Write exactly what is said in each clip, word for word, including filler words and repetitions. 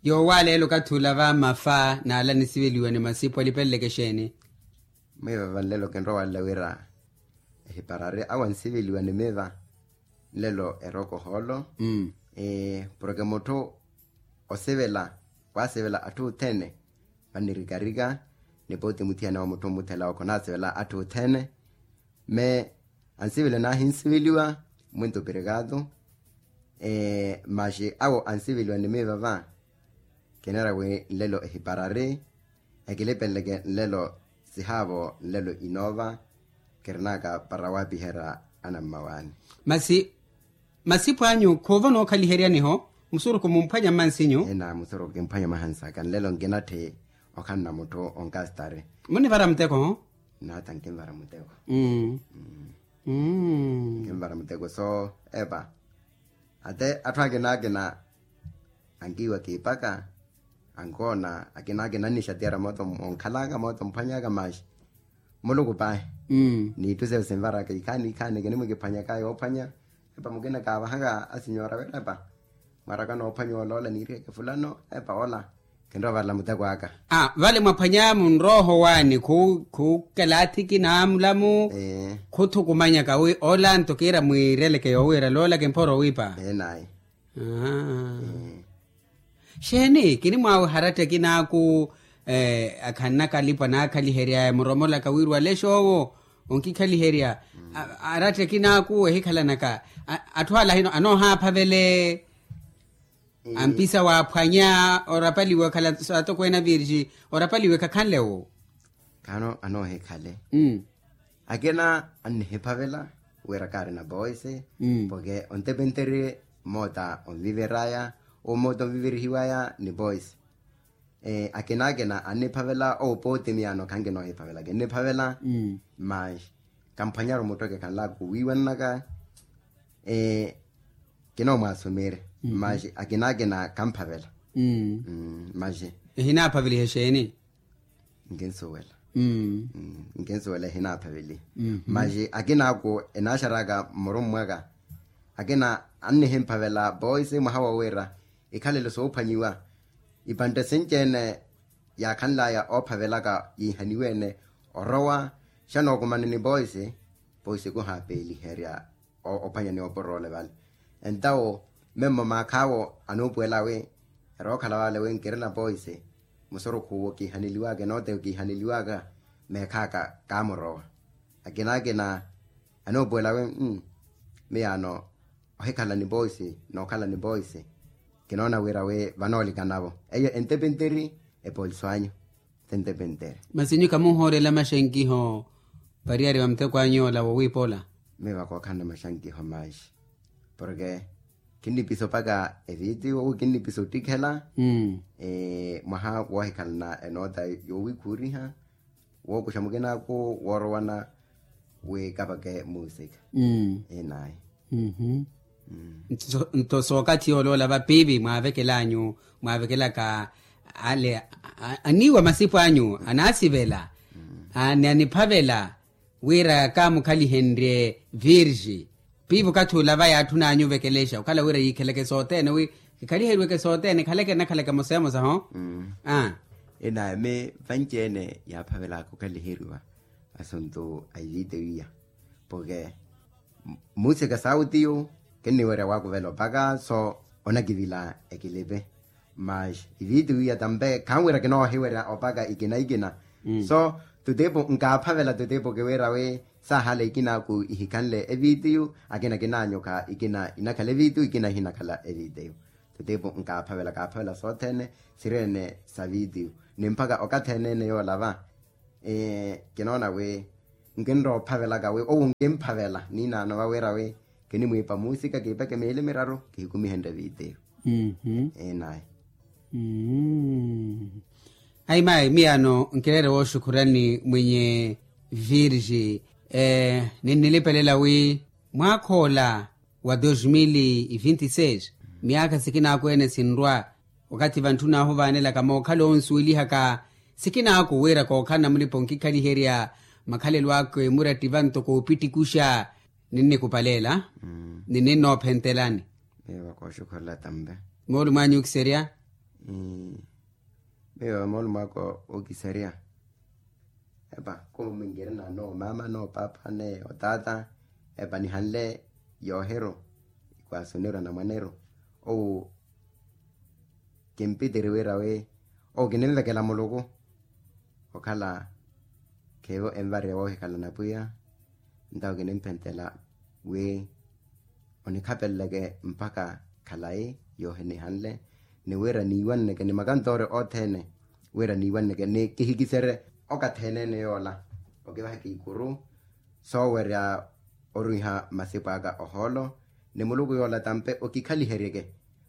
Yoowaaleela okathi olava mafa n'ala anisiveliwa ni masipu alipeleleke exeeni? Mwiivava nlelo kinrowalela wira ehiparari awo ansiveliwa ni miiva nlelo eroko hoolo. Porke mutthu osivela waasivela atthu othene vannirikarika ni pooti muthiyana wa mutthu mmuthela owo khonasivela atthu othene. Me ansiveliwa naahinsiveliwa mwinto pirikaatu. Maxi awo ansiveliwa ni miiva va kinira wi nlelo ehiparari ekilipeleke nlelo sihaavo nlelo inoova kirinaka para waapiherya anammawaani. Masi masipu anyu khuuva onookhaliheryaniho musurukhu mumphwanya mmansinyu? Ena musurukhu kimphwanya mwahansaka nlelo nkinatthi okhanna mutthu onkastari. Munivara muteko ho? Nata nkinvara muteko. Nkinvara muteko so epa ate atthu akina akina ankiiwa kiipaka ankoona akina akina annixatiyara mooto onkhalaka mooto omphwanyaka maxi muluku pahi. Niitthu seyo sinvaraka ikhaani ikhaani kinimwikiphwanyaka yoophwanya epa mukina kaavahaka asinyora wira epa mwaraka noophwanya oloola niiriheke fulano epa ola kinrowa varela muteko aka. Vale mwaphwanya munrooho waani khukelaathiki naamulamu khuthukumanyaka wi ola nto kiira mwiireleke yoowiira loola kimphoro wiipa. Enayi. Xeeni kinimwaawe haratta ekinaaku akhanna kalipwa naakhaliheryaya muromolaka wiiruwale xoowo onkikhaliherya. Aratta ekinaaku ehikhalanaka atthu ala hino anoohaaphavele ampisa waaphwanya orapaliwa khala saatokweene avirixi orapaliwa ekhakhanle wo. Khaano anoohikhale akina annihiphavela wira kaari na poise. Porke ontepenteri moota onviveraya omoota onviverihiwaya ni poise. Akina akina anniphavela owo pooti miyaano khankinoohiphavela kinniphavela. Maxi kamphwanyaru muttoke khanlaku wiiwananaka kinoomwaasumire. Maxi akina akina kamphavela. Maxi ehinaaphavelihe xeeni? Nkinsuwela. Nkinsuwela ehinaaphavelihe. Maxi akinaaku enaaxaraka mmurummwaka akina annihemphavela poise mwaha wowira ikhalelo soophwanyiwa. Ipantte sinci-ene yaakhanlaya oophavelaka yiihaniwe-ene orowa xanookumana ni poise. Poise kuhaapeeliherya ophwanya ni oporole vale. Entawo memmo maakhaawo anuupuwela wi erookhala vale wi nkirina poise musurukhu owo kiihaneliwaka enooteyo kiihaneliwaka meekhaka kaamurowa. Akina akina anuupuwela wi miyaano ohikhala ni poisi nookhala ni poisi kinoona wira wi vanoolikanavo eyo entepenteri epoliso anyu. Tentepenteri. Masi nyu kamuhoorela maxankiho pariyari va muteko anyu ola wowiipa ola? Miva kookhanna maxankiho maxi porke kinnipisa opaka evitiyo ou kinnipisa ottikhela mwaha woohikhalana enoota yoowikhuuriha wookuxa mukinaaku woorowana wi kapake muusika. Inayi. Nto sookathi yooloola vapiivi mwaavekel'anyu mwaavekelaka ale aniiwa masipu anyu anaasivela ni aniphavela wira kaamukhalihenrye virgi piivi okathi ola va yaatthun'anyu ovekelexa okhala wira yiikheleke sothene wi kikhaliheriweke sothene khaleke nnakhaleke emosa emosa ho. Inayi mi vanci-ene yaaphavelaka okhaliheriwa assunto a ivitiyo iya porke muusika saawutiyu kinniwerya waakuvela opaka so onakivila ekilipi. Mas ivitiyo iya tampe khanwira kinoohiwerya opaka ikina ikina so tutipu nkaaphavela tutipu kiwira wi saahala ikinaaku ihikhanle evitiyo akina kinaanyuka ikina inakhala evitiyo ikina ihinakhala evitiyo. Tutipu nkaaphavela kaaphavela sothene siri-ene sa vitiyo ni mpakha okathi ene-ene yoolava kinoona wi nkinrowa ophavelaka wi owo nkimphavela niinaano vawira wi kinimwiipa muusika kiipeke miili miraru kihikumihenrye vitiyo. Inayi. Ayi mayi miyaano nkireere wooxukhurani mwenye virgi ninnilipelela wi mwaakhoola wa dos mil e vinte e seis miyaakha sikinaaku ene sinrwa okathi vantthuna ahuvaanelaka mookhala onsuwelihaka sikinaaku wira kookhala na mulipa onkikhaliherya makhalelo aka emurattiva ntoko opittikuxa ninnikupaleela ni ninnoophentelani. Moolumo anyu okiserya Miyo moolumo aka okiserya. Epa kumi nkirina noomaama noopaapa ni otaata. Epa nihanle yoohiru ikwaasi oneru anamwaneru. Owu kimpitiri wira wi owu kininvekela muluku okhala khiivo envariya woohikhala na pwiya. Ntawo kinimpentela wi onikhapeleleke mpakha khalayi yoohinihanle ni wira niiwanneke ni makantoori othene wira niiwanneke ni kihikiserye okathi ene-ene yoola okivaheke ikuru soowerya orwiha masipu aka ohoolo ni muluku yoola tampe okikhaliheryeke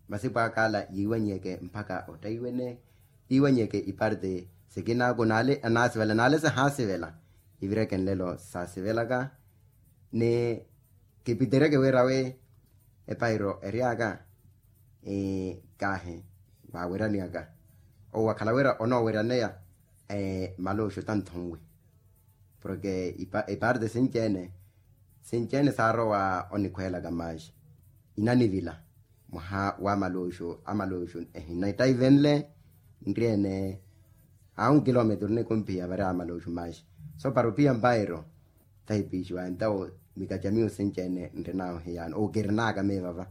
masipu aka ala yiiwanyeke mpakha ottaiwene yiiwanyeke iparti sikinaaku naale anaasivela naale sahaasivela ivireke nlelo saasivelaka ni kipitereke wira wi epairo eryaka kaahi vaaweryani aka owo wakhala wira onooweryaneya maluxu tanthunwi porke iparti sinci-ene sinci-ene saarowa onikhweelaka maaxi inanivila mwaha wa maluxu amaluxu ehina ittaivenle nri-ene a un kilometuru nikumphiya vari amaluxu maaxi so para ophiya mpairo tahipixiwa entawo mikaca miyo sinci-ene nrinahu hiyaano owu kirinaka miyo vava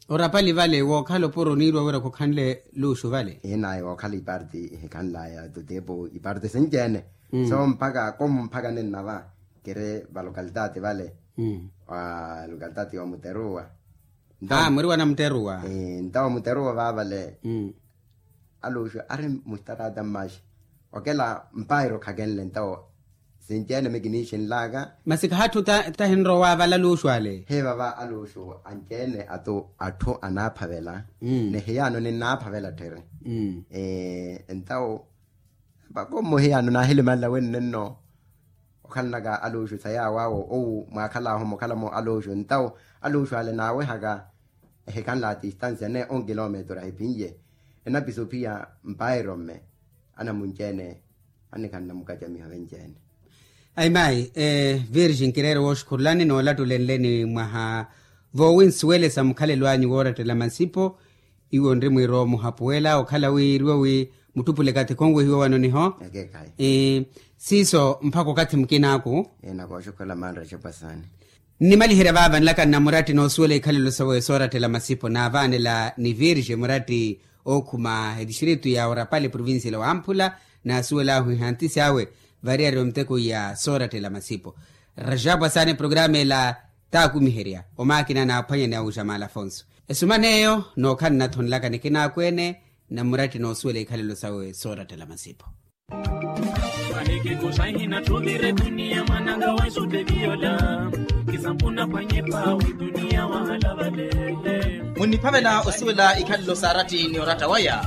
orapali vale wookhala opuro oniiriwa wira khukhanle luxu vale inaye wookhala iparti ihikhanlaya tutepo iparti sinci-ene so mpakha komu mpakha ninnava kiri valokalitati vale valokalitati wa muteruwa a mwiri wa namuteruwa ntawo muteruwa vavale aluxu ari muxtarata mmaxi okela mpairo khakenle ntawo sinci-ene mikinixinlaka masi khahatthu tahinrowa vala aluxu ale hivava aluxu anci-ene atu atthu anaaphavela ni hiyaano ninnaaphavela tthiri ntawo vako mmuhiyano naahilimanla wenne nno okhalanaka aluxu sa yaawo awo owu mwaakhalaahu mukhalamo aluxu ntawo aluxu ale naawehaka ehikhanla a tistansia ne onkilometuru ahiphinye enapisa ophiya mpairo mme anamunci-ene anikhanna mukacamiho venci-ene ayi mayi virgin kireere wooxukhurulani noolattule nleni mwaha voowinsuwelesa mukhalelo anyu woorattela masipo iwo nri mwiiro muhapuwela okhala wi iriwo wi mutthupule kathi khonwehiwe wano niho siiso mpakha okathi mukinaaku nnimaliherya vaava nlaka nna muratti noosuwela ikhalelo sawe soorattela masipo naavaanela ni virge muratti ookhuma etistritu ya orapale provincia la wamphula naasuwelaahu ihantisi awe variyari omuteko ya soorattela masipo rajapu asaana eprograma ela taakumiherya omaakina naaphwanya ni awuja maala afonso esumana eyo nookhala nnathonelaka nikinaaku ene nna muratti noosuwela ikhalelo sawe soorattela masipo munniphavela osuwela ikhalelo saaratti ni oratta waya